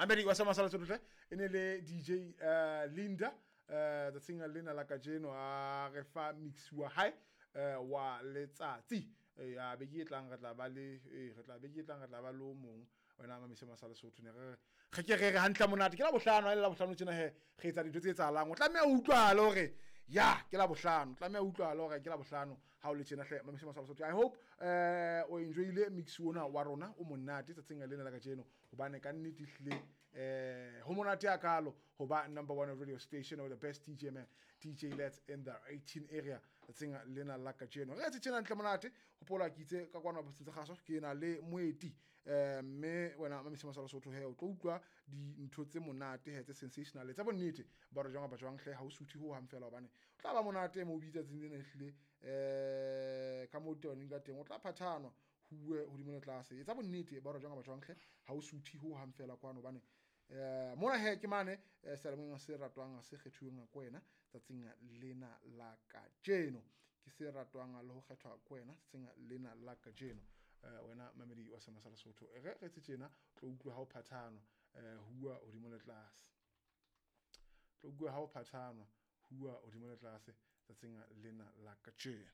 Mamedi wa Sama Sala Sototle, e ne le DJ Linda tsatsing lena la kajeno, a re fa mix wa hae wa letsatsi. Ya beke e tlang re tla ba le re tla beke e tlang re tla ba le o mong wena mamise Masala Sotho. Ne re re ke re re hantle monate, ke la bohlano, ha e le la bohlano tjena he re etsa dintho tse etsahalang. O tlameha o utlwahale hore ya ke la bohlano, tlameha o utlwahale hore ke la bohlano ha o le tjena hle, mamise Masala Sotho. I hope o enjoyile mix ona wa rona o monate tsatsing lena la kajeno, hobane ka nnete ehlile ho monate hakalo ho ba number one radio station or the best DJ man, DJ Let's in the 18 area tsatsing lena la kajeno. Re etse tjena ntle monate. Hopola ke itse ka kwana botseng tsa kgaso ke na le moeti, mme wena mamise Masala Sotho he o tlo utlwa dintho tse monate he, tse sensational, tsa bonnete ba re jwang kapa jwang hle, ha o suthe ho hang fela, hobane o tla ba monate mo o bitsa tsatsing lena ehlile ka moo tabaneng ka teng, o tla phathanwa ho bue hodimo le tlase. Etsa bonnete ba re jwang kapa jwang hle, ha o suthe ho hang fela kwano, hobane mona he ke mane seyalemoyeng se ratwang, se kgethuweng ko wena tsatsing lena la kajeno, ke se ratwang le ho kgethwa ko wena tsatsing lena la kajeno. Wena mamedi wa Sama Sala Sotho, re re tse tjena, tlo utlwa ha o phathanwa huwa hodimo le tlase, tlo utlwa ha o phathanwa huwa hodimo le tlase tsatsing lena la kajeno.